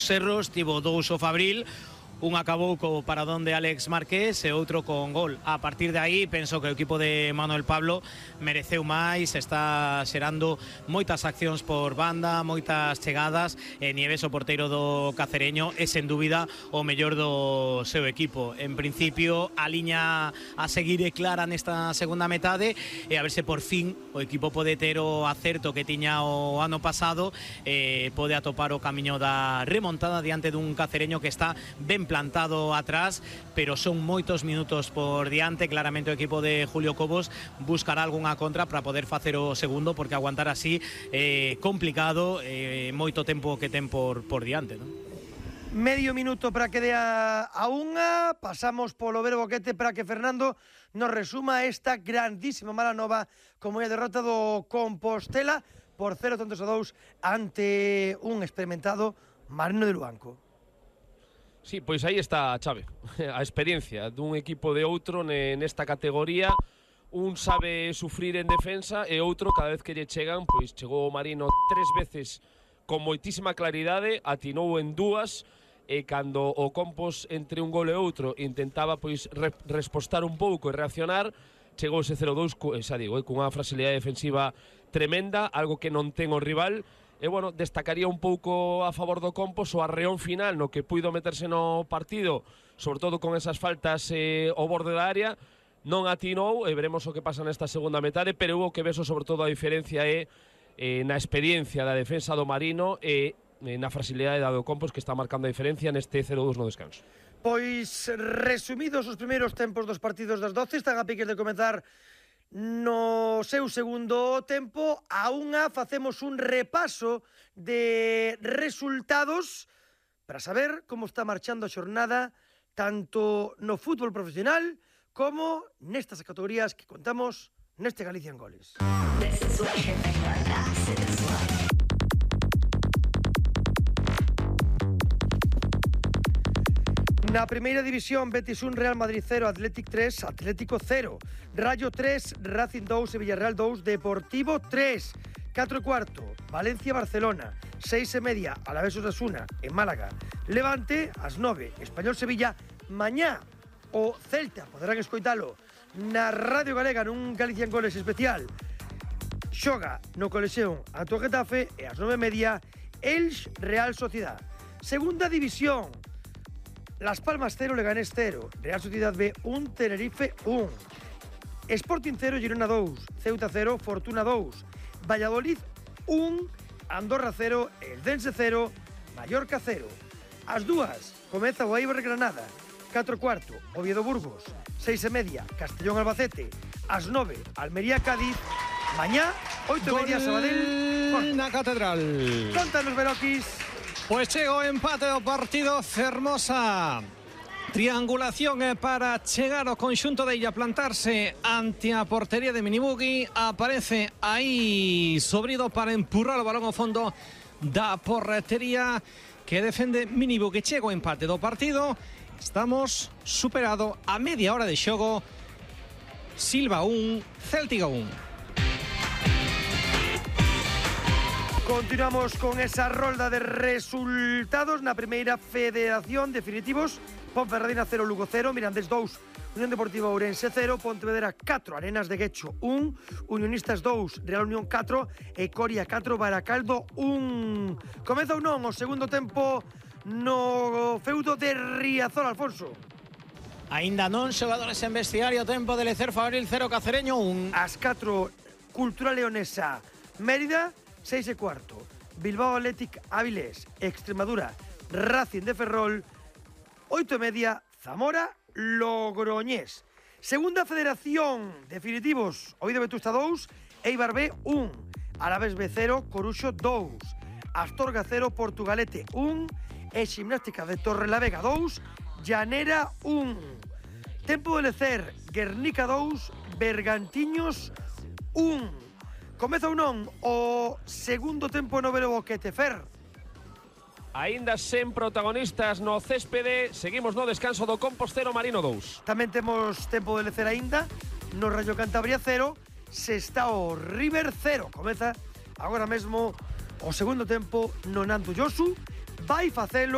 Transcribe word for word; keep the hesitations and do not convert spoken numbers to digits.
Serros tivo dous o Fabril, un acabou co paradón de Alex Márquez e outro con gol. A partir de aí, penso que o equipo de Manuel Pablo mereceu máis, está xerando moitas accións por banda, moitas chegadas, e Nieves, o porteiro do Cacereño, é sen dúbida o mellor do seu equipo. En principio, a liña a seguir é clara nesta segunda metade, e a ver se por fin o equipo pode ter o acerto que tiña o ano pasado, e pode atopar o camiño da remontada diante dun Cacereño que está ben plantado atrás, pero son moitos minutos por diante. Claramente o equipo de Julio Cobos buscará algunha contra para poder facer o segundo, porque aguantar así é eh, complicado, eh, moito tempo que ten por, por diante, ¿no? Medio minuto para que dé a, a unha. Pasamos polo Vero Boquete para que Fernando nos resuma esta grandísima mala nova como é a derrota do Compostela por cero tantos a dous ante un experimentado Marino de Luanco. Sí, pois aí está a chave, a experiencia dun equipo de outro nesta categoría. Un sabe sufrir en defensa e outro, cada vez que lle chegan, pois chegou o Marino tres veces con moitísima claridade, atinou en dúas, e cando o Compos entre un gol e outro intentaba pois re respostar un pouco e reaccionar, chegou ese cero dous, xa digo, eh, cunha fragilidade defensiva tremenda, algo que non ten o rival. E, bueno, destacaría un pouco a favor do Compos o arreón final no que puido meterse no partido, sobre todo con esas faltas eh, ao borde da área. Non atinou, e veremos o que pasa nesta segunda metade, pero hubo que veso sobre todo a diferencia é eh, na experiencia da defensa do Marino e eh, na fragilidade da do Compos, que está marcando a diferencia neste cero dous no descanso. Pois, resumidos os primeiros tempos dos partidos das doce, están a piques de comenzar no seu segundo tempo. A unha facemos un repaso de resultados para saber como está marchando a xornada tanto no fútbol profesional como nestas categorías que contamos neste Galicia en Goles. Na primeira división, Betis un, Real Madrid cero, Athletic tres, Atlético cero, Rayo tres, Racing dos e Villarreal dos, Deportivo tres, catro e cuarto, Valencia-Barcelona, seis e media, Alavés Osasuna, en Málaga, Levante, ás nove, Español-Sevilla, mañá o Celta, poderán escoitalo na Radio Galega nun Galicia en Goles especial, xoga no Colexeón ante o Getafe, e ás nove e media, Elx Real Sociedad. Segunda división, Las Palmas cero, Leganés cero, Real Sociedad B un, Tenerife un, Sporting cero, Girona dos, Ceuta cero, Fortuna dos, Valladolid un, Andorra cero, Eldense cero, Mallorca cero. As dúas, comeza o Eibar Granada, catro e cuarto, Oviedo Burgos, seis e media, Castellón Albacete, ás nove, Almería Cádiz, mañá, oito e media, Sabadell, na Catedral. Contanos, Beroquis. Pois chega o empate do partido, fermosa triangulación para chegar ao conxunto de Illa, plantarse ante a portería de Minibugui. Aparece aí Sobrido para empurrar o balón ao fondo da portería que defende Minibugui. Chega o empate do partido, estamos superado a media hora de xogo. Silva un, Céltiga un. Continuamos con esa rolda de resultados na primeira federación definitivos. Ponferradina cero, Lugo cero, Mirandés dous, Unión Deportiva Ourense cero, Pontevedra catro, Arenas de Guecho un, Unionistas dous, Real Unión catro e Coria catro, Baracaldo un. Comeza ou non o segundo tempo no feudo de Riazor, Alfonso? Aínda non, xogadores en vestiario, tempo de Lecer Fabril cero, Cacereño un. As catro, Cultura Leonesa Mérida, seis e cuarto, Bilbao Athletic Avilés, Extremadura, Racing de Ferrol, oito e media, Zamora Logroñés. Segunda federación, definitivos, Oviedo Vetusta dous, Eibar B un, Alavés B cero, Coruxo dous, Astorga cero, Portugalete un e Ximnástica de Torrelavega dous, Llanera un. Tempo de Lecer, Guernica dous, Bergantiños un. Comeza ou non o segundo tempo no Vero Boquete, Fer? Aínda sen protagonistas no céspede, seguimos no descanso do Compostero Marino dous. Tamén temos tempo de lecer aínda no Rayo Cantabria cero, Sestao River cero. Comeza agora mesmo o segundo tempo no Nanto Josu, vai facelo